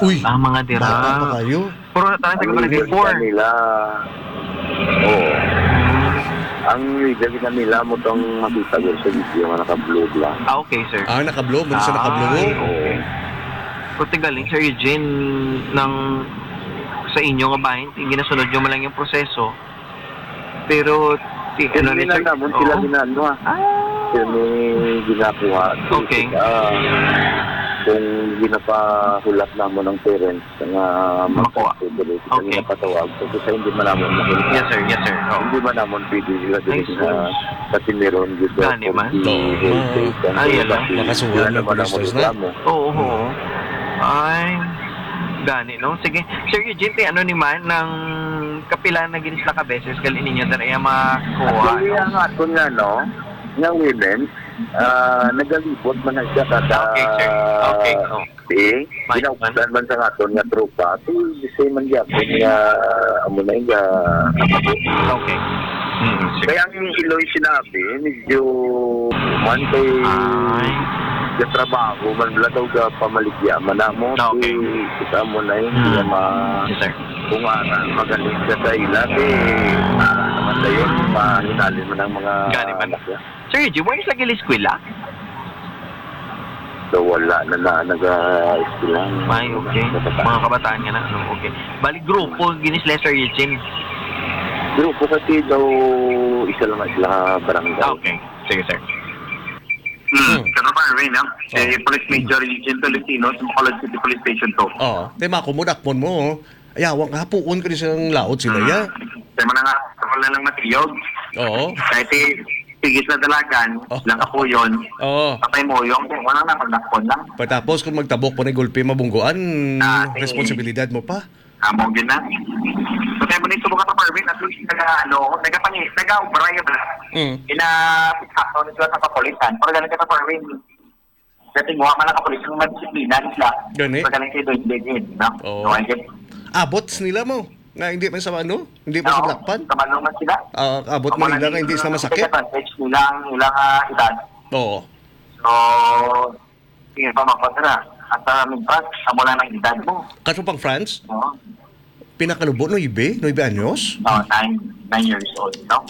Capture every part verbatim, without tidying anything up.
Uy, ang mga dira. Bata pa kayo. Puro na tayo, Ang taga-barangay media four. Nila, oo. Ang media kita nila mo tong makita ko sa video nga naka-blue lang. Ah, okay, sir. Ah, naka-blue? Muna siya naka-blue? Ay, okay. Kung tigaling, Sir Eugene, nang sa inyo nga bahin, ginasunod nyo man lang yung proseso. Pero, ti-, Kasi ano ni, sir? Namon sila Oo. Ginano, ah. Ah. Sila ni ginakuha. Okay. Ah, kung ginapahulat namon ang parents, nga Makuha. Magkasubo, Okay. Nga patawag. Kasi sa hindi man namon makuha. Yes, sir. Yes, sir. Oo. Hindi man namon pwede sila dili Ay, na sus. Katimiron dito. Gani man. Oo. Health aid, Ay, ang ala. Makasuhan wala ng naman police ang station, ha? Reklamo. Oo, Hmm. oo. Ay, gani, no? Sige. Sir Eugene, te, ano ni man, nang kapila na gini sila ka beses, gali ninyo, dara iya makuha, Actually, no? Ang aton nga, no, nga women, ah, nagalibot man na siya kada Okay, sir. Okay, oh. Eh, May ginaupdan man sa aton nga tropa, si, si man gyapon nga, amo na nga. Okay. Mm, sige. Kaya ang iloy sinabi, medyo man kay Ay. Gatrabaho man bala daw ga pamaligya man namo. Okay. Si, kita mo na yun, Mm. Nga ma-, Yes, sir. Kung ara, magaling ka sa ila, eh, ara naman na yun, mahinalim man ang mga Gani man. Anak niya. Sir Eugene, wala sila gili-eskwela? So, wala na, na nag-eskwela. Ay, okay. Kabataan. Mga kabataan nga na, no? Okay. Bali, grupo, gini sila, Sir Eugene? Grupo kasi daw, isa lang na sila barangay. Ah, okay. Sige, sir. Hmm. Hmm. Sa Marvin, no? Si Oh. Police Major Eugene Tolentino, sa Bacolod City Police Station two. Oo. Di, makumudakpon mo, oh. Ayaw, ang hapuon ka di sa laot sila, ya. Kaya mo na nga, ako na lang matiyog. Oo. Kahit si, sige sa dalagan, Oh. Lang kapuyon. Oo. Patay mo yung, wala na, pagdakpon lang. Patapos kung magtabok pa ni gulpi, mabungguan, Ah, sige. Responsibilidad mo pa. Amo, yun na. So, kaya mo nito mga ka-Marvin, at least, naga, ano, nagapani-, nagaubra yun, ah. Mm. Ina-, ano, nito sa kapulisan. Pero ganun ka, Marvin. Kasi mo, mga kapulis, yung madisiplina, sila. Gani. Pag galing kayo doon, din, din, no? Oo. So, I guess, Abot nila mo. Nga hindi man sa ano? Hindi man sa Oo. Blackpan? Kabalo man sila. Ah, abot Amo man lang nila nga hindi sila masakit? Take advantage nila ang ilang, ah, edad. Oo. So, sige pa, makontra. At, ah, minsan, amo lang ang edad mo. Kaso pang France? Oo. Pinakalubo, nuebe? Nuebe anyos? Oh, nine, nine years old, no?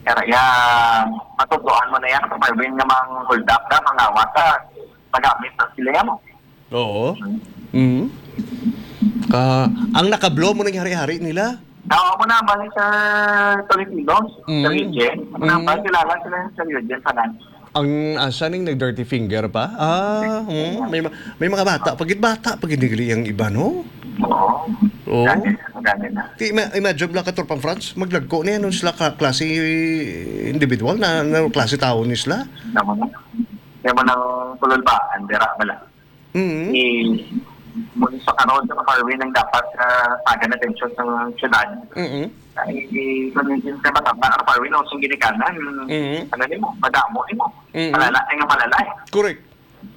Kaya, ya, matutuan mo na yan, kung may nga mang hold up na, mga awat, ah, magamit na sila yan, mo. Oo. Mm. Ka, ang nakablo mo nang hari-hari nila? Tawa mo na, balik sa Tolentino, Mm. Sa Eugene. Ano Mm. Ba, kilala sila sa Eugene, sa nan. Ang asa ning nag-dirty finger pa? Ah, hmm, may ma-, may mga bata pa gid, bata pa gid nagli ang iba, no? Oo. Oo. Dati, dati na. Di, ima-, imagine lang, Katropang Franz, maglagko na yan, nun sila ka-, klase individual na, na klase tao ni sila. Tama na. Kaya mo nang tulol ba? Andera, wala. Mm. Eh, muli sa karon sa Marvin ang dapat, ah, tagan atensyon sa syudad. Mm. Ay, eh, kung yung sa mataba, ang Marvin, ang sing ginikanan, Mm. ano ni mo, madamo ni mo. Mm. Malala, ay nga malala eh. Correct.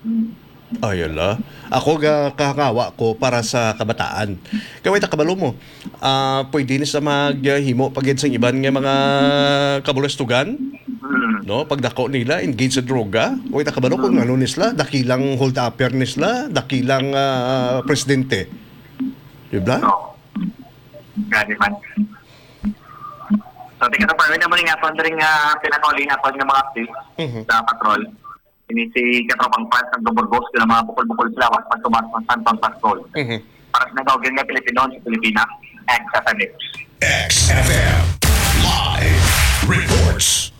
Mm. Ay, ala. Ako ga kahangawa ko para sa kabataan. Kay wait, kabalo mo. Ah, pwede ni sa maghimo pa gid sa iban nga mga kabulastugan, Mm. no? Pagdako nila, engage sa droga. Wait, kabalo kung Mm. ano ni sila, dakilang hold-upper ni sila, dakilang, ah, presidente. Di ba? Oo. Gani man. So, tika sa parang naman nga, aton rin nga, pinakauli nga, aton nga mga update Mhm. Sa patrol. Ini si Katropang Franz nagbuburgos sila mga bukol-bukol sila, was pagtumas ng Santong Pastor. Mhm. Para sa nagawagin nga Pilipino sa Pilipinas, X F M News. X F M Live Reports.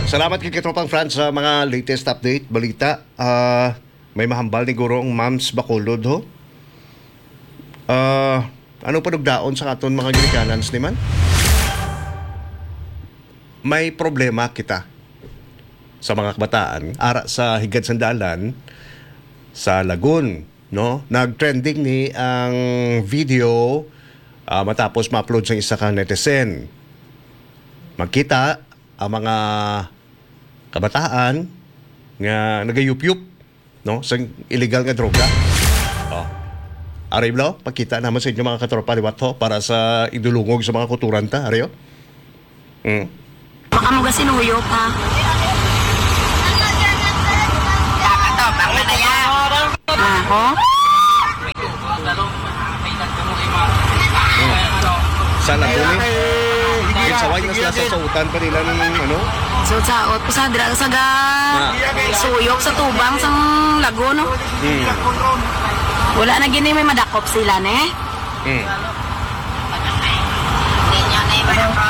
Salamat kay Katropang Franz sa mga latest update, balita. Ah, may mahambal ni Guro ang Moms Bacolod, ho? Ah, ano panugdaon sa aton mga ginikanan, Sniman? May problema kita sa mga kabataan, ara sa Higad Sandalan, sa Lagun, no? Nag-trending ni ang video, ah, matapos ma-upload sa isa ka netizen. Makita ang mga kabataan nga nagayupyup, no, sa illegal nga droga. Oh. Ari, Blo, pakita naman sa inyo mga katropa liwat, ho, para sa idulungog sa mga kuturan ta, ari, oh. Mm. Baka mo gasinuyo pa. Aho? Sa Lagoon, eh. Ginsaway na sila sa sautan pa nila ng ano? So, sa, sa dra-, sa ga-, Ah. suyok sa tubang sang Lagoon, no? Hmm. Wala na gini may madakop sila, ne? Hmm.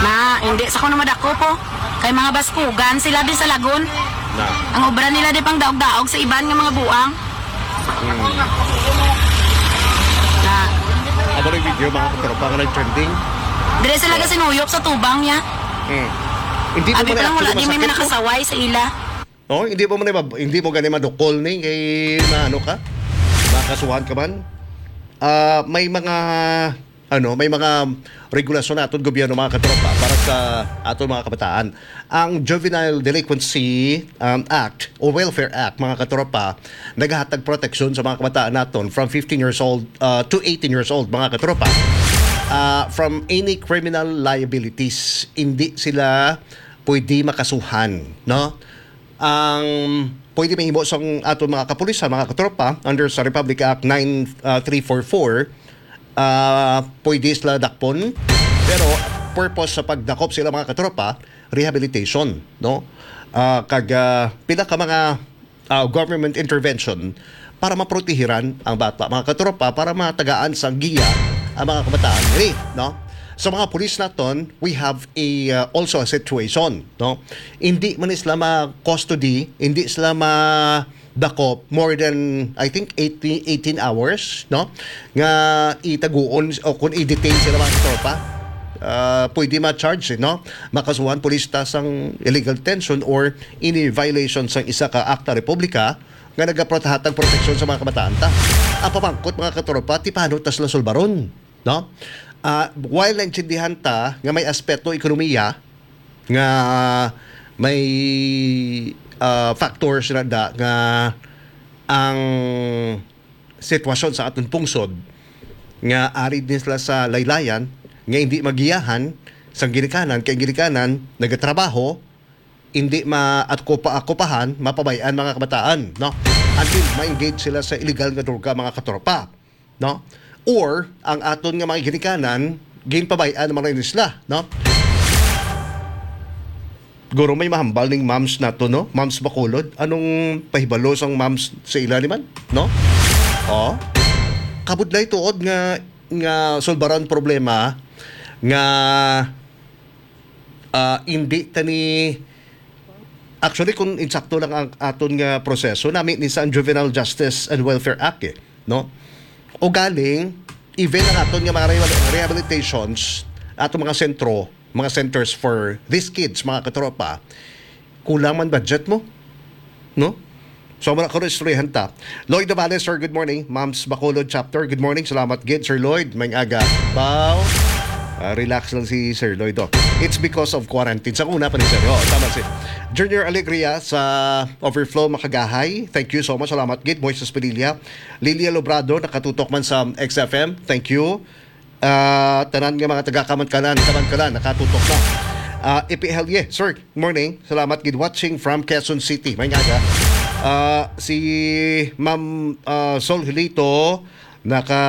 Na, hindi sa kuno madakop, oh. Kay mga baskugan sila di sa Lagoon. Na. Ang obra nila di pang daog-daog sa iban nga mga buang. Hmm. Na. Amo na yung video, mga katropa, nga nag-trending. Dire sila Oh. gasinuyop sa tubang niya. Hmm. Hindi mo Abi man pa lang, actually wala di may masakit, no? nakasaway sa ila. Oh, hindi mo man, hindi mo gani madukol ni kay maano ka? Makasuhan ka man. Ah, may mga, ano, may mga regulasyon naton gobyerno, mga katropa, para sa aton mga kabataan. Ang Juvenile Delinquency, um, Act o Welfare Act, mga katropa, nagahatag proteksyon sa mga kabataan naton from fifteen years old, uh, to eighteen years old, mga katropa, uh, from any criminal liabilities. Hindi sila pwede makasuhan, no? Ang pwede mahimo sang aton mga kapulisan, mga katropa, under sa Republic Act nine three four four, ah, pwede sila dakpon. Pero purpose sa pagdakop sila, mga katropa, rehabilitation, no? Ah, kag, ah, pila ka mga, ah, government intervention para maprotehiran ang bata, mga katropa, para matagaan sang giya ang mga kabataan diri, no? Sa mga pulis naton, we have a, uh, also a situation, no? Hindi man sila ma-custody, hindi sila madakop more than, I think, eighteen, eighteen hours, no? Nga itaguon o kung i-detain sila, mga katropa. Uh, pwede ma-charge, eh, no? Makasuhan pulis ta sang illegal detention or any violation sang isa ka akta republika nga nagaprotehatag proteksyon sa mga kabataan ta. Ang pamangkot, mga katropa, ti paano ta sila sulbaron, no? Ah, while naintindihan ta nga may aspeto ekonomiya nga may, ah, factors na da nga ang sitwasyon sa aton pungsod nga ari din sila sa laylayan nga hindi magiyahan sang ginikanan, kay ginikanan nagatrabaho, hindi ma-, at kupa-, kupahan, mapabay-an mga kabataan, no? Until ma-engage sila sa illegal nga droga, mga katropa, no? Or ang aton nga mga ginikanan, ginpabay-an naman rin sila, no? Guro may mahambal ning moms nato, no? Moms Bacolod, anong pahibalo sang moms sa ila ni man, no? Oh. Kabudlay tuod nga, nga sulbaran problema nga, ah, hindi tani, actually, kung insakto lang ang aton nga proseso, nami ni sa ang Juvenile Justice and Welfare Act, eh, no? O galing, even ang aton nga mga rehabil-, rehabilitations, aton mga sentro, mga centers for these kids, mga katropa, kulang man budget mo, no? So, wala ko istoryahan ta. Lloyd Davales, sir, good morning. Moms Bacolod Chapter, good morning. Salamat gid, Sir Lloyd. May aga. Bow. Ah, relax lang si Sir Lloyd, oh. It's because of quarantine. Sa una pa ni Sir. Oh, tama si Junior Alegria sa Overflow, Makagahay. Thank you so much. Salamat gid. Moises Padilla. Lilia Lobrado, nakatutok man sa X F M. Thank you. Ah, tanan nga mga taga Kamankalan, Kamankalan, nakatutok na. Ah, Ipi Helye, sir, morning. Salamat gid, watching from Quezon City. May aga. Ah, si Ma'am, ah, Sol Hilito, naka,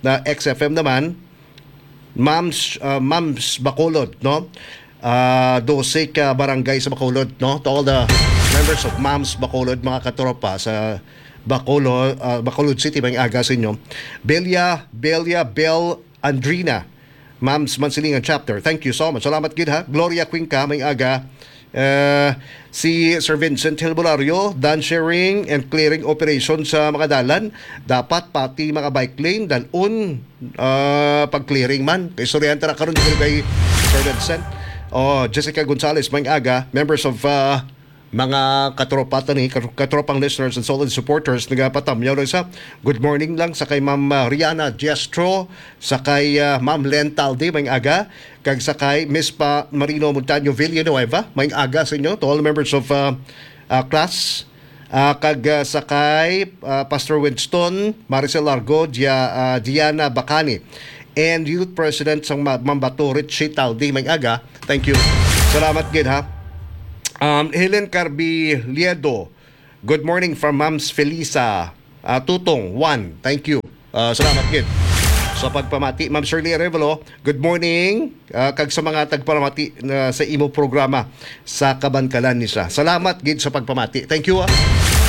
na X F M naman. Moms, ah, Moms Bacolod, no? Ah, dose ka barangay sa Bacolod, no? To all the members of Moms Bacolod, mga katropa sa Bacolod, ah, Bacolod City, may aga sa inyo. Belia, Belia, Bel, Andrina, Moms Mansilingan Chapter. Thank you so much. Salamat gid, ha. Gloria Cuenca, may aga. Eh, si Sir Vincent Hilbolario, done sharing and clearing operation sa mga dalan. Dapat pati mga bike lane, dalon, ah, pag-clearing man. Kay istoryahan ta na karon dito kay Sir Vincent. Oh, Jessica Gonzalez, may aga, members of, ah, mga katropa ta ni, katro-, katropang listeners and solid supporters, nagapatamyaw lang sa good morning lang sa kay Ma'am, ah, Rihanna Diastro, sa kay, ah, Ma'am Len Talde, may aga, kag sa kay Miss pa Marino Montaño Villanueva, may aga sa inyo, to all members of, ah, ah, class, ah, kag, ah, sa kay, ah, Pastor Winston, Maricel Largo, Dia-, ah, Diana Bacani, and Youth President sang Ma-, Mambato, Richie Taldi, may aga. Thank you. Salamat gid, ha. Um, Helen Carbi Liedo, good morning from Moms Felisa. Ah, Tutong, one. Thank you. Ah, salamat gid. sa pagpamati. Ma'am Shirley Arevalo, good morning. Ah, kag sa mga tagpamati na sa imo programa sa Kabankalan ni sa. Salamat gid sa pagpamati. Thank you, ah.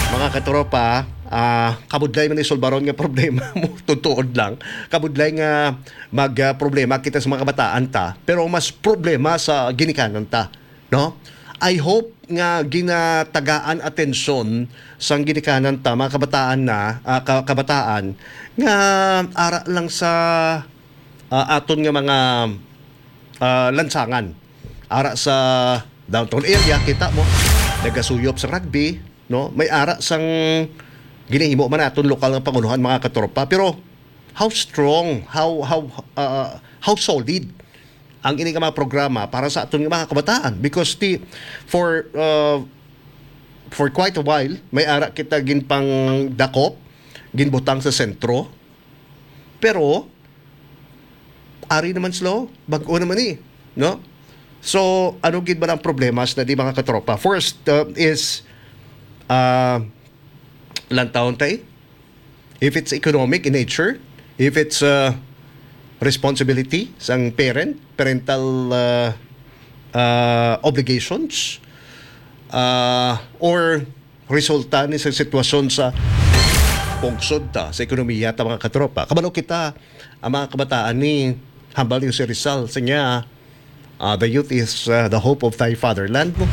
Mga katropa, ah, kabudlay man ni sulbaron nga problema mo, tutuod lang. Kabudlay nga mag, ah, problema kita sa mga kabataan ta, pero mas problema sa ginikanan ta, no? I hope nga ginatagaan atensyon sang ginikanan ta, mga kabataan na, ah, ka-, kabataan nga ara lang sa, ah, aton nga mga, ah, lansangan. Ara sa downtown area, kita mo, nagasuyop sa rugby, no? May ara sang ginahimo man aton lokal nga pangulohan, mga katropa. Pero how strong, how, how, ah, how solid ang ini nga mga programa para sa aton nga mga kabataan? Because the, for, uh, for quite a while, may ara kita ginpangdakop, ginbutang sa sentro, pero ari naman sila, bag-o naman ni, no? So, ano gid ba ang problema sa di, mga katropa? First, uh, is, uh, lantawon tay, if it's economic in nature, if it's, uh, responsibility sang parent, parental, uh, uh, obligations, uh, or resulta ni sa sitwasyon sa pungsod ta, sa ekonomiya ta, mga katropa. Kabalo kita, ang mga kabataan ni hambal ni Jose Rizal, sa niya, uh, "The youth is, uh, the hope of thy fatherland," mo,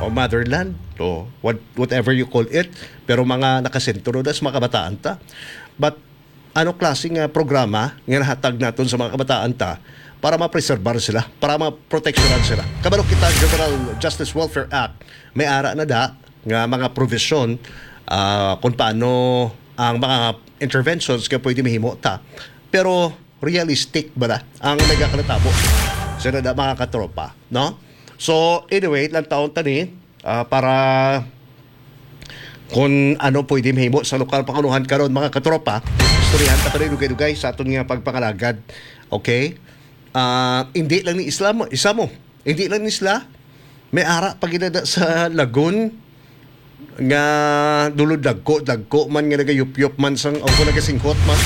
o motherland, o what, whatever you call it. Pero mga nakasentro na sa mga kabataan ta. But ano klase nga programa nga nahatag naton sa mga kabataan ta para mapreserbar sila, para maproteksyonan sila? Kabalo kita, Juvenile Justice Welfare Act, may ara na da nga mga provision, ah, kung paano ang mga interventions nga pwede mahimo ta. Pero realistic ba na ang nagakalatabo sa nada, mga katropa, no? So, anyway, lang taon tani, ah, para kung ano pwede mahimo sa lokal pangulohan karon, mga katropa. Istoryahan ta pa rin dugay-dugay sa aton nga pagpangalagad. Okay? Ah, hindi lang ni Islam, isa mo. Hindi lang ni sila. May ara pa gid na sa Lagun nga dulod dagko, dagko man nga nagayupyop man sang, o kung nagasingkot man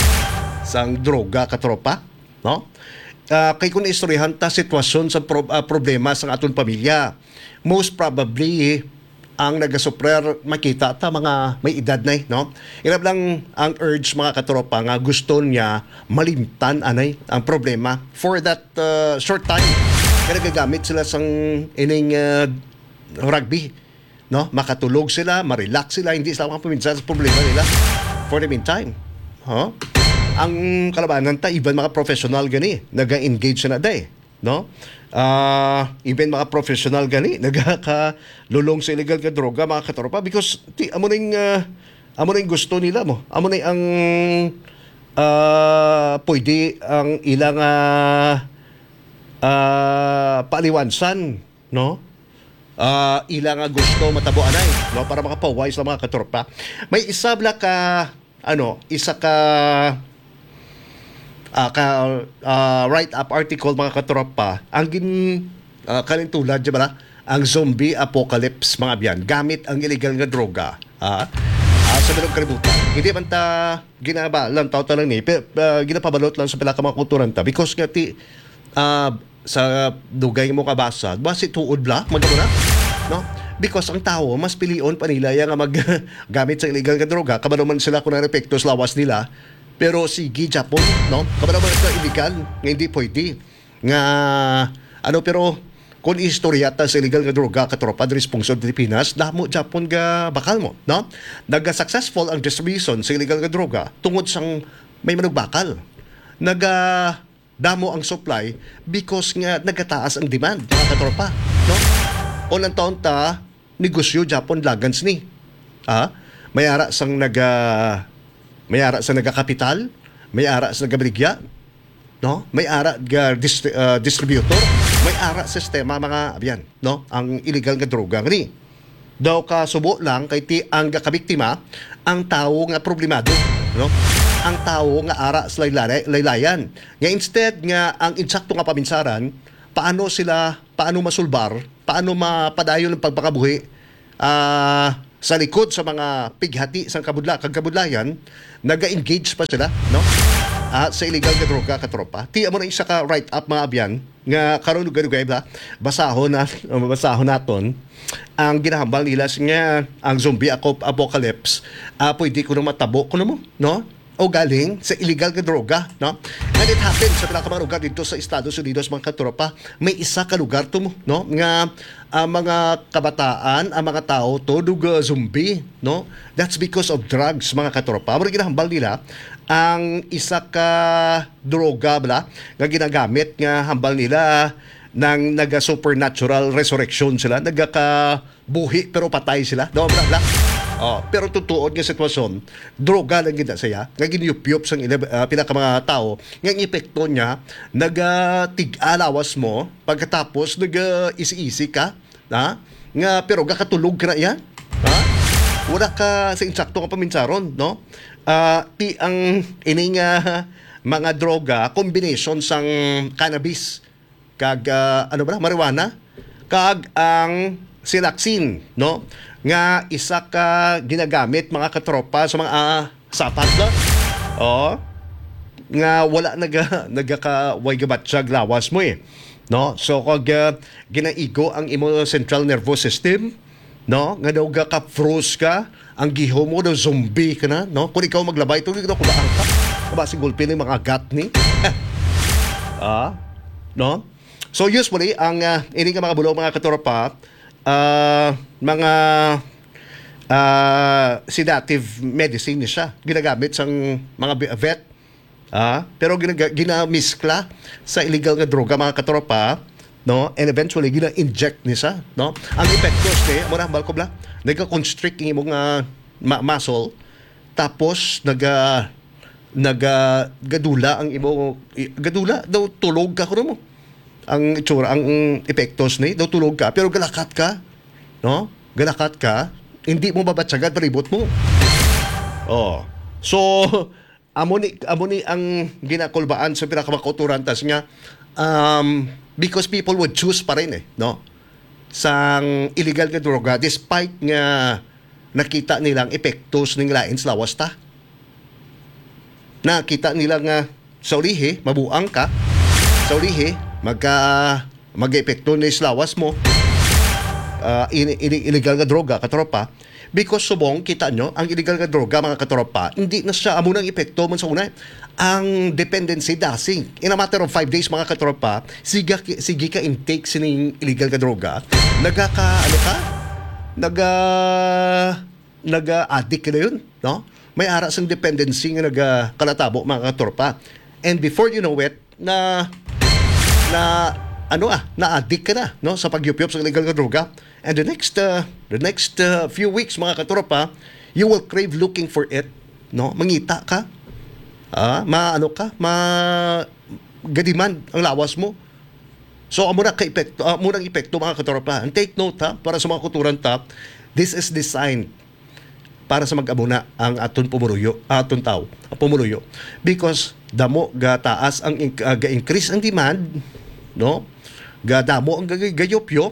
sang droga, katropa, no? Ah, kay kung istoryahan ta sitwasyon sa prob-, ah, problema sang aton pamilya, most probably ang nagasuprer, makita ta mga may edad na, eh, no? Ilab lang ang urge, mga katropa, nga gusto niya malimtan anay ang problema for that, uh, short time. Kaya nagagamit sila sang ining, uh, rugby, no? Makatulog sila, ma-relax sila, hindi sila makapaminsan sa problema nila for the meantime. Huh? Ang kalabanan ta, even mga professional gani, naga-engage na day, no? Ah, even mga professional gani, nagaka-, lulong sa illegal nga droga, mga katropa, because ti-, amo ning, ah, amo ning gusto nila mo. Amo ni ang, ah, pwede ang ilang, ah, ah, paaliwansan, no? Ah, ila nga gusto matabo anay, no, para makapahuway sa mga katropa. May isa bala ka, ano, isa ka, ah, ka, ah, write-up article, mga katropa, ang gin-, ah, kalintulad, di ba, ang zombie apocalypse, mga biyan, gamit ang illegal nga droga. Ah, ah, sa bilog kalibutan. Hindi man ta ginaba lang, tao ta lang ni, pe-, ah, ginapabalot lang sa pila ka mga kulturan ta. Because nga ti, ah, sa dugay mo kabasa, basi tuod bala, magamo na, no? Because ang tawo, mas pilion pa nila ya nga mag-, gamit sa illegal nga droga, kabalo man sila kung ano epekto sa lawas nila, pero sige, Japon, no? Kabalo man sa illegal, nga hindi pwede. Nga, ano, pero kung istorya ta sa illegal nga droga, katropa, diri sa pungsod Pilipinas, damo Japon ga bakal mo, no? Naga-successful ang distribution sa illegal nga droga tungod sang may manugbakal. Naga damo ang supply because nga nagataas ang demand, mga katropa, no? O lang taon ta, negosyo Japon lagans ni. Ah, may ara sang naga, may ara sa nagakapital, may ara sa nagabaligya, no? May ara ga dist-, ah, distributor, may ara sistema, mga abyan, no? Ang illegal nga droga ni. Daw ka subo lang kay ti ang gakabiktima ang tawo nga problemado, no? Ang tawo nga ara sa laylay-, laylayan. Nga instead nga ang insakto nga paminsaran, paano sila, paano masulbar, paano mapadayon ang pagpakabuhi, ah, sa likod sa mga pighati sang kabudla-, kag kabudlayan, naga-engage pa sila, no? ah, sa illegal nga droga, katropa. Ti amo na isa ka write-up, mga abyan, nga karon dugay-dugay ba? Basahon na, basahon naton ang ginahambal nila sa nga ang zombie aco-, apocalypse, ah, pwede kuno matabo kuno mo, no? O galing sa illegal nga droga, no? And it happened sa pila ka mga lugar dito sa Estados Unidos, mga katropa. May isa ka lugar to mo, no? Nga ang mga kabataan, ang mga tao to, dug, uh, zombie, no? That's because of drugs, mga katropa. Amo rin ginahambal nila ang isa ka droga bala nga ginagamit nga hambal nila nang naga-supernatural resurrection sila, nagakabuhi pero patay sila. No, bla, bla. Oh, pero tutuod nga sitwasyon, droga lang gid na siya nga ginyupyop sang ila, ah, pila ka mga tawo nga ang epekto niya nagatig-a lawas mo pagkatapos nag-isi-isi ka, ha? Nga pero gakatulog ka na iya, ha? Wala ka sa insakto nga paminsaron, no? Ah, ti ang ini nga mga droga, combination sang cannabis kag, ah, ano ba na, marijuana, kag ang silaxin, no? Nga isa ka ginagamit, mga katropa, sa mga, ah, sapat na. Oh. Nga wala naga, nagaka, way gabatyag lawas mo eh. No? So, kag, ah, ginaigo ang imo central nervous system, no? Nga daw ka-froze ka, ang gihom mo daw zombie ka na, no? Kung ikaw maglabay, tuloy daw kulaan ka. Basi gulpi ni mga gat ni. Ah, no? So, usually, ang, ah, ini nga mga bulong, mga katropa, ah, mga, ah, sedative medicine ni siya. Ginagamit sang mga bi-, vet, ah, pero ginaga-, ginamiskla sa illegal nga droga, mga katropa, no? And eventually, gina-inject ni siya, no? Ang epektos ni, amo na, hambal ko bala, nagka-constrict ang imong, ah, ma-, muscle, tapos naga-, naga-, gadula ang imo, i-, gadula daw, tulog ka kuno mo. Ang itsura, ang epektos ni, daw tulog ka, pero galakat ka, no? Galakat ka, hindi mo mabatyagan palibot mo. Oh. So, amo ni, amo ni ang ginakulbaan sa pila ka mga kautoran tas nga, um, because people would choose pa rin eh, no? Sang illegal nga droga, despite nga nakita nila ang epektos ning lain sa lawas ta. Nakita nila nga sa ulihi, mabuang ka. Sa ulihi, magka, mag-epekto ni sa lawas mo. Ah, ini, ini, illegal nga droga, katropa. Because subong, kita nyo, ang illegal nga droga, mga katropa, hindi na siya amo nang epekto man sa una. Ang dependency dasig. In a matter of five days, mga katropa, sige, sige ka intake sining illegal nga droga. Nagaka, ano ka? Naga, naga-addict ka na yun, no? May ara sang dependency nga nagakalatabo, mga katropa. And before you know it, na, na, ano ah, na-addict ka na, no? Sa pagyupyop sa illegal nga droga. And the next, uh, the next, uh, few weeks, mga katropa, you will crave looking for it, no? Mangita ka, ah, ma-, ano ka, ma-, ga-demand ang lawas mo. So, amo na ka epekto, ah, amo nang epekto, mga katropa. And take note, ha, para sa mga kautoran ta, this is designed para sa mag-abuna ang aton pumuluyo, aton tao, ang pumuluyo. Because damo gataas ang in-, ah, ga-increase ang demand, no? Gadamo ang gay-, gayupyop,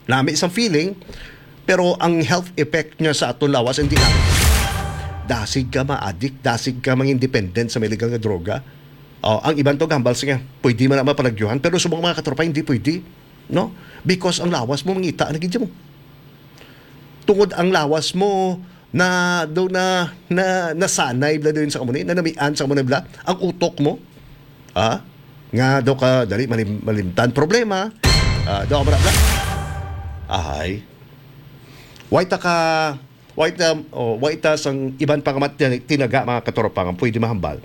nami sang feeling, pero ang health effect niya sa aton lawas hindi na. Dasig ka ma-addict, dasig ka mangin dependent sa mga illegal nga droga. Oh, ang iban to gambal siya, pwede man na mapalagyuhan, pero sa mga katropa, hindi pwede, no? Because ang lawas mo, mangita na gid mo. Tungod ang lawas mo, na, do na, na, nasanay bla doon sa amo ni, nanamian sa amo ni bla, ang utok mo, ah, nga do ka, dali, malim-, malimtan problema, ah, do ka bla, bla. Ahay. Way ta ka, way ta, oh, way ta sang iban pa nga mat-, tinaga, mga katropa, nga pwede mahambal,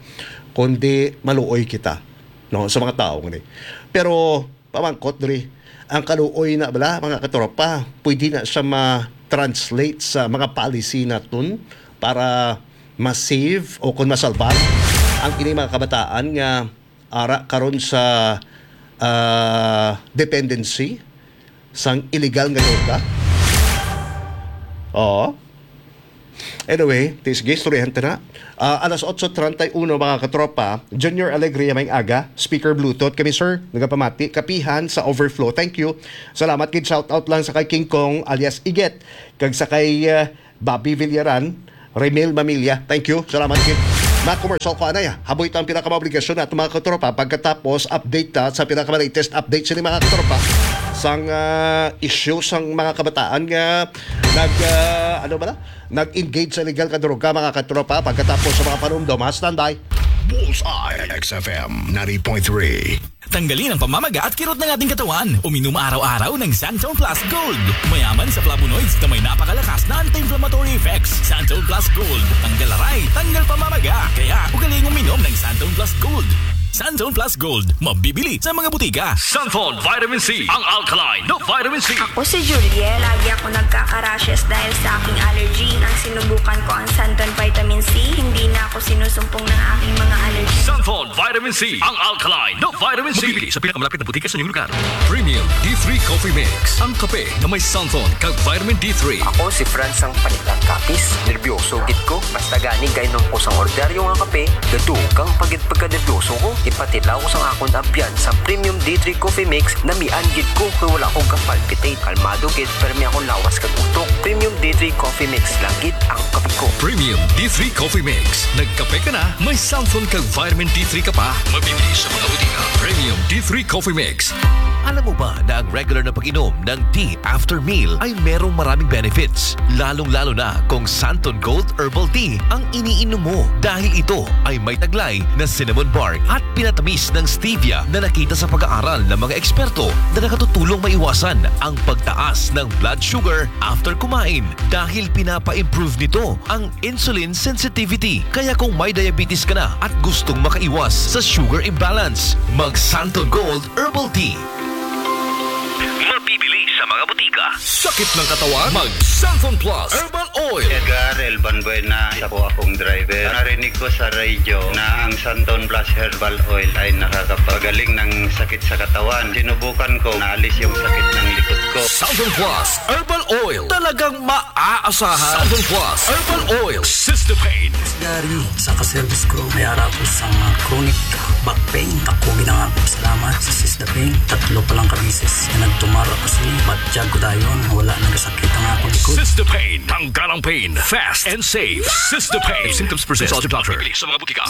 kundi maluoy kita, no, sa mga tao ngani. Pero, pamangkot diri, ang kaluoy na bala, mga katropa, pwede na siya ma-translate sa mga policy naton para ma-save o kung masalbar ang ini mga kabataan nga ara karon sa, ah, dependency sang illegal nga droga? Oo. Anyway, ti-, sige, istoryahan ta na. Ah, alas otso treinta y uno, mga katropa. Junior Alegria, maayong aga. Speaker Bluetooth kami, sir. Nagapamati. Kapihan sa overflow. Thank you. Salamat gid. Shout out lang sa kay King Kong alias Iget. Kag sa kay, ah, Bobby Villaran, Remil Mamilya. Thank you. Salamat gid. Mga commercial ko anay, ha? Haboy ta ang pinakamaobligasyon nato, mga katropa. Pagkatapos, update ta sa pinakalatest update sini, mga katropa, sang, ah, issue sang mga kabataan nga nag, ah, ano ba na? Nag-engage sa illegal nga droga, mga katropa. Pagkatapos sa mga panumdom, ha? Standby. Bullseye, X F M ninety point three. Tanggalin ang pamamaga at kirot ng ating katawan. Uminom araw-araw ng Santon Plus Gold. Mayaman sa flavonoids na may napakalakas na anti-inflammatory effects. Santon Plus Gold. Tanggal aray, tanggal pamamaga. Kaya ugaliing uminom ng Santon Plus Gold. Santon Plus Gold. Mabibili sa mga butika. Santon Vitamin C. Ang alkaline na vitamin C. Ako si Juliet. Lagi ako nagkaka-rashes dahil sa aking allergy. Nang sinubukan ko ang Santon Vitamin C, hindi na ako sinusumpong ng aking mga allergy. Santon Vitamin C. Ang alkaline na vitamin C. Mabibili sa pinakamalapit na butika sa inyong lugar. Premium D three Coffee Mix. Ang kape na may santon kag vitamin D three. Ako si Franz ang panigang kapis. Nerbiyoso gid ko. Basta gani kainom ko sang ordinaryo nga kape, gadugang pa gid pagkanerbiyoso ko. Ipatilaw ko sang akon abyan sa Premium D three Coffee Mix, namian gid ko kay wala ko ka-palpitate. Kalmado gid, permi akong lawas kag utok. Premium D three Coffee Mix lang gid ang kape ko. Premium D three Coffee Mix. Nagkape ka na, may santon kag vitamin D three ka pa. Mabibili sa mga butika. Premium D three Coffee Mix. Alam mo ba na ang regular na pag-inom ng tea after meal ay merong maraming benefits, lalong-lalo na kung Santon Gold Herbal Tea ang iniinom mo, dahil ito ay may taglay na cinnamon bark at pinatamis ng stevia na nakita sa pag-aaral ng mga eksperto na nakatutulong maiwasan ang pagtaas ng blood sugar after kumain, dahil pinapa-improve nito ang insulin sensitivity. Kaya kung may diabetes ka na at gustong makaiwas sa sugar imbalance, mag Santon Gold Herbal Tea. Mabibili sa mga butika. Sakit ng katawan? Mag Santon Plus Herbal Oil. Edgar Elban Buena, isa po akong driver. Narinig ko sa radyo na ang Santon Plus Herbal Oil ay nakakapagaling ng sakit sa katawan. Sinubukan ko, naalis yung sakit ng likod ko. Santon Plus Herbal Oil. Talagang maaasahan. Santon Plus Herbal Oil. Sister Pain. Gary, sa ka-service crew, may ara ko sa mga chronic back pain. Ako ginangako salamat sa Sister Pain. Tatlo pa lang ka beses na nagtumar ako sini. Batyag ko dayon, wala nagasakit ang akong likod. Sister Pain. Tanggal ang pain. Fast and safe. Sister Pain. If symptoms persist, consult your doctor. Sa mga butika.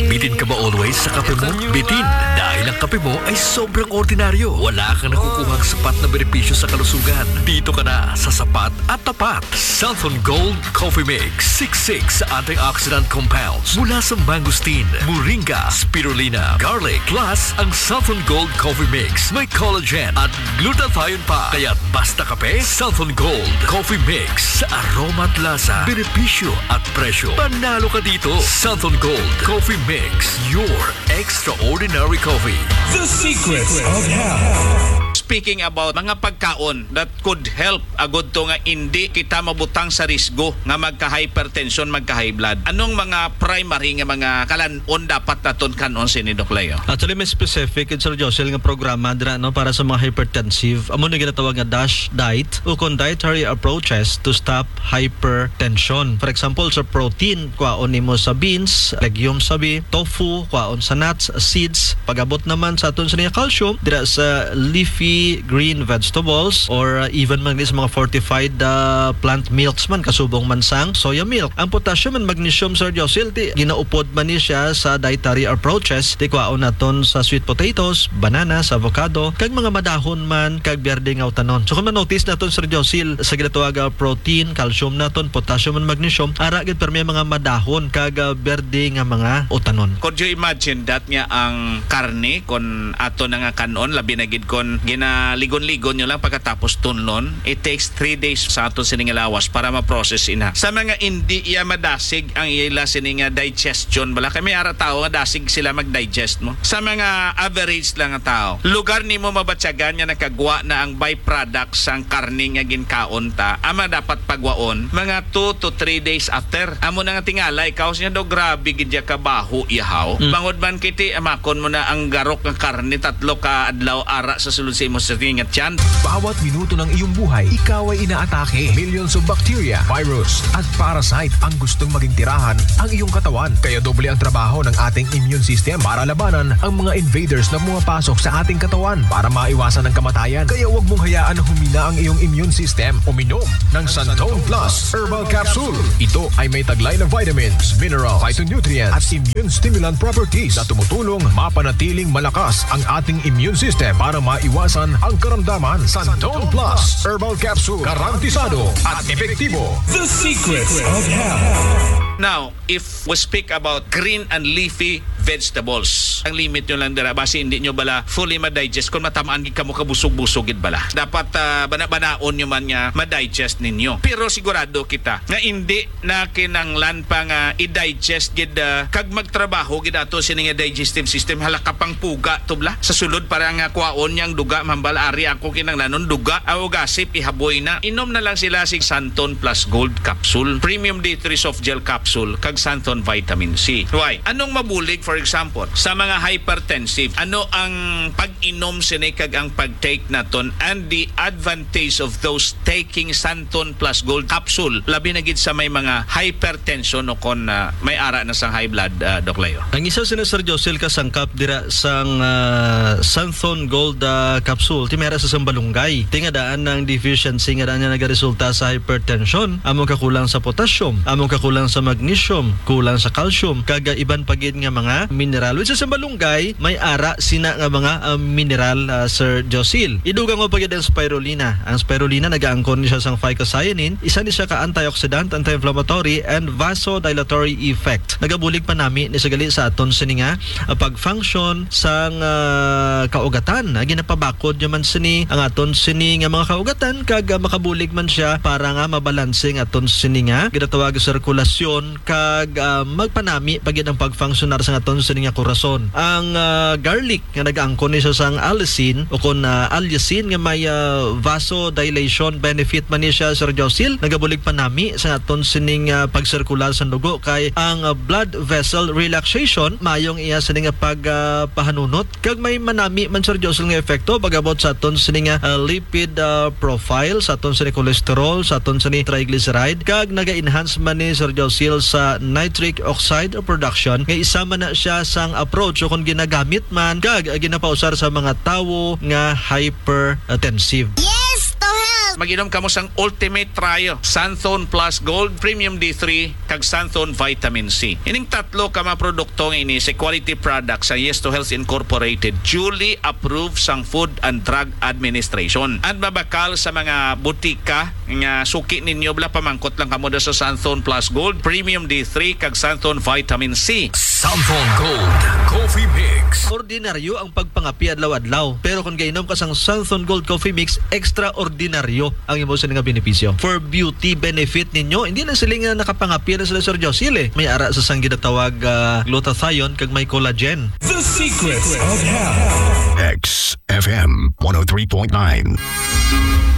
Bitin ka ba always sa kape mo? Bitin, dahil ang kape mo ay sobrang ordinaryo. Wala kang nakukuhang sapat na benepisyo sa kalusugan. Dito ka na sa sapat at tapat. Santon Gold Coffee Mix. Siksik sa antioxidant compounds mula sa mangosteen, moringa, spirulina, garlic. Plus, ang Santon Gold Coffee Mix may collagen at glutathione pa. Kaya't basta kape, Santon Gold Coffee Mix. Sa aroma at lasa, benepisyo at presyo, panalo ka dito. Santon Gold Coffee Mix, your extraordinary coffee. The Secrets of Health. Speaking about mga pagkaon that could help agud to nga indi kita mabutang sa risgo nga magka-hypertension, magka-high blood. Anong mga primary nga mga kalan-on dapat naton kan-on sini, Doc Leo? Actually, may specific gid, Sir Josel, nga programa dira, no, para sa mga hypertensive. Amo na ginatawag nga DASH diet, ukon dietary approaches to stop hypertension. For example, sa protein, kwaon nimo sa beans, legumes sabi, tofu, kwaon sa nuts, seeds. Pag-abot naman sa aton sa niya calcium, dira sa leafy green vegetables or, uh, even man sa mga fortified, uh, plant milks man, kasubong man sang soya milk. Ang potassium and magnesium, Sir Josil, di ginaupod man ni siya sa dietary approaches, di kwaon naton sa sweet potatoes, bananas, avocado, kag mga madahon man kag berde nga utanon. So kung ma-notice naton, Sir Josil, sa ginatawag nga protein, calcium naton, potassium and magnesium, ara gid permi mga madahon kag, ah, berde nga mga utanon. Could you imagine that nga ang karne, kon ato na nga kan-on, labi na gid kon ginaligon-ligon nyo lang pagkatapos tunlon, it takes three days sa ato sini nga lawas para ma-process ina. Sa mga indi iya madasig ang ila sini nga digestion, bala kay may ara tawo nga dasig sila mag-digest mo. Sa mga average lang nga tawo, lugar nimo mabatyagan nga nakagwa na ang byproduct sang karne nga ginkaon ta, ama dapat pagwaon mga two to three days after. Amo na nga tingala, ikaw siya daw, grabe gid ya kabaho, ihaw. Mm. Bangod man kiti, amakon mo na ang garok nga karne tatlo ka adlaw ara sa sulod imo sa nga tiyan. Bawat minuto ng iyong buhay, ikaw ay inaatake. Millions of bacteria, virus, at parasite ang gustong maging tirahan ang iyong katawan. Kaya doble ang trabaho ng ating immune system para labanan ang mga invaders na pumapasok sa ating katawan para maiwasan ang kamatayan. Kaya huwag mong hayaan na humina ang iyong immune system. Uminom ng Santon Plus Herbal Capsule. Ito ay may taglay na vitamins, mineral, phytonutrients, at immune stimulant properties na tumutulong mapanatiling malakas ang ating immune system para maiwasan ang karamdaman. Santon Plus Herbal Capsule, garantisado at epektibo. The Secrets of Health. Now, if we speak about green and leafy vegetables, ang limit nyo lang dira, basi hindi nyo bala fully ma-digest kung matamaan gid kamo kabusog-busog gid bala. Dapat, ah, bana-banaon nyo man nga ma-digest ninyo. Pero sigurado kita nga hindi na kinanglan pa nga i-digest gid, ah, kag magtrabaho gid ato sini nga digestive system. Hala ka pang puga to bala. Sa sulod para nga kwaon niyang duga, mambal ari ako kinanglanon duga, aw gasip ihaboy na. Inom na lang sila sig Santon Plus Gold Capsule, Premium D three Soft Gel Capsule, kag Santon Vitamin C. Why? Anong mabulig, for example, sa mga hypertensive? Ano ang pag-inom sini kag ang pag-take naton and the advantage of those taking Santon Plus Gold Capsule, labi na gid sa may mga hypertension o kon, ah, may ara na sang high blood, ah, Doc Leo? Ang isa sina, Sir Josel, ka sangkap dira sang, ah, Santhon Gold, ah, capsule, ti may ara sa sambalunggay. Ti nga daan ang deficiency nga daan nga nagaresulta sa hypertension, among kakulang sa potassium, among kakulang sa magnesium, kulang sa calcium, kag, ah, iban pa gid nga mga mineral. Which is, ang sambalunggay may ara sina nga mga, ah, mineral, ah, Sir Josil. Idugang mo pa gid ang spirulina. Ang spirulina nagaangkon ni siya sang phycocyanin, isa ni siya ka antioxidant, anti-inflammatory, and vasodilatory effect. Nagabulig pa nami ni sa gali sa aton sini nga, ah, pag-function sang, ah, kaugatan. Ah, ginapabakod niya man sini ang aton sini nga mga kaugatan kag, ah, makabulig man siya para nga mabalanse ang aton sini nga ginatawag sirkulasyon kag, ah, magpanami pa gid ang pagfunksyonar sang aton sini nga korason. Ang, ah, garlic nga nagaangkon ni siya sang allicin o kon, ah, allicin nga may, ah, vasodilation benefit man ni siya, Sir Josil, nagabulig pa nami sa aton sining, ah, pagsirkular sa dugo kay ang, ah, blood vessel relaxation maayong iya sini nga pag, ah, pahanunot kag may manami man, Sir Josil, nga epekto pag-abot sa aton sini nga, ah, lipid, ah, profile, sa aton sini cholesterol, sa aton sini triglyceride, kag naga-enhance man ni, Sir Josil, sa nitric oxide production nga isa man na siya sang approach o kon ginagamit man kag ginapausar sa mga tawo nga hypertensive. Yes to health! Mag-inom kamo sang Ultimate Trio, Santhon Plus Gold, Premium D three, kag Santhon Vitamin C. Ining tatlo ka mga produkto nga ini sa Quality Products sa Yes to Health Incorporated, duly approved sang Food and Drug Administration. And mabakal sa mga butika nga suki ninyo, bala pamangkot lang kamo da sa Santhon Plus Gold, Premium D three, kag Santhon Vitamin C. Santhon Gold Coffee Mix. Ordinaryo ang pagpangapi adlaw-adlaw, pero kung gainom ka sang Santhon Gold Coffee Mix, extraordinaryo ang imo sini nga benepisyo. For beauty benefit ninyo, hindi lang sila nga nakapangapi na sila, Sir Josil, eh. May ara sa sang ginatawag, ah, glutathione kag may collagen. The Secrets of Health. X F M one oh three point nine.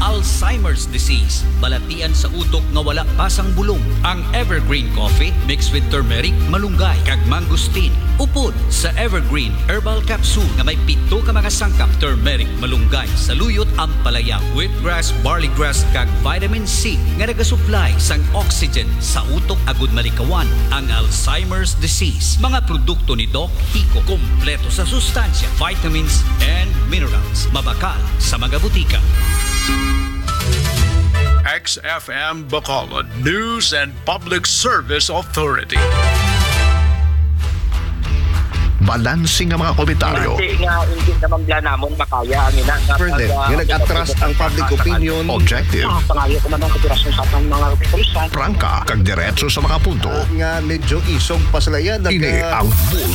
Alzheimer's disease, balatian sa utok nga wala pa sang bulong. Ang Evergreen Coffee mixed with turmeric, malunggay, kag mangosteen. Upod sa Evergreen Herbal Capsule nga may pito ka mga sangkap: turmeric, malunggay, saluyot, ampalaya, wheatgrass, barleygrass, kag vitamin C nga nagasuplay sang oxygen sa utok agud malikawan ang Alzheimer's disease. Mga produkto ni Doc Kiko, kompleto sa sustansya, vitamins, and minerals. Mabakal sa mga butika. X F M Bacolod News and Public Service Authority. Balanse nga mga komentaryo. Base nga hindi naman bala namon makaya ang ina nga Further, pag, ah, nga nag-atras ang public opinion. Objective. Ah, pangayo ko man ang kooperasyon sa atong mga opisyal. Prangka, kag diretso sa mga punto. Ah, nga medyo isog pa sila yan. Ini ang Bullseye.